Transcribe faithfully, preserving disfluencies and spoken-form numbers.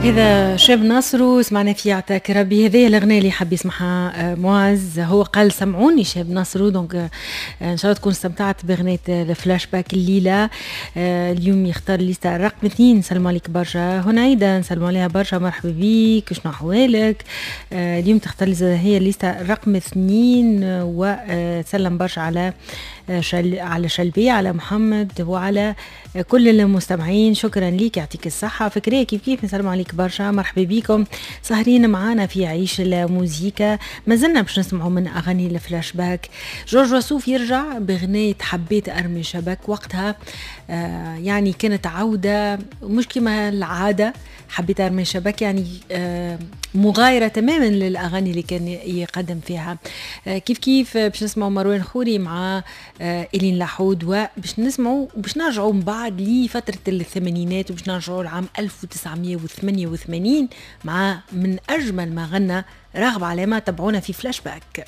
هذا شاب ناصرو، سمعنا فيه عطاك ربي. هذه الاغنية اللي حاب يسمعها آه، معز، هو قال سمعوني شاب ناصرو. donc آه، ان شاء الله تكون استمتعت باغنية الفلاش باك الليله. آه، اليوم يختار ليستا رقم اثنين. نسلم عليك برشا هنيدا، نسلم عليها برشا، مرحبا بيك، شنو احوالك؟ اليوم تختار لي هي ليستا رقم اثنين، وسلم برشا على شل على شلبي، على محمد وعلى كل المستمعين. شكرا ليك، يعطيك الصحة. فكرية كيف كيف، نسلم عليك برشا، مرحبا بكم سهرين معانا في عيش الموزيكا. ما زلنا باش نسمعوا من أغاني الفلاش باك. جورج وسوف يرجع بغناية حبيت أرمي شبك، وقتها آه يعني كانت عودة مش كما العادة. حبيت أرمي شبك يعني آه مغايرة تماما للأغاني اللي كان يقدم فيها. آه كيف كيف باش نسمعوا مروان خوري مع آه إلين لحود، وباش نسمعوا باش نرجعوا من بعد لفترة الثمانينات، وباش نرجعوا لعام ألف وتسعمية وثمانية وثمانين مع من أجمل ما غنى راغب علامة. تبعونا في فلاش باك.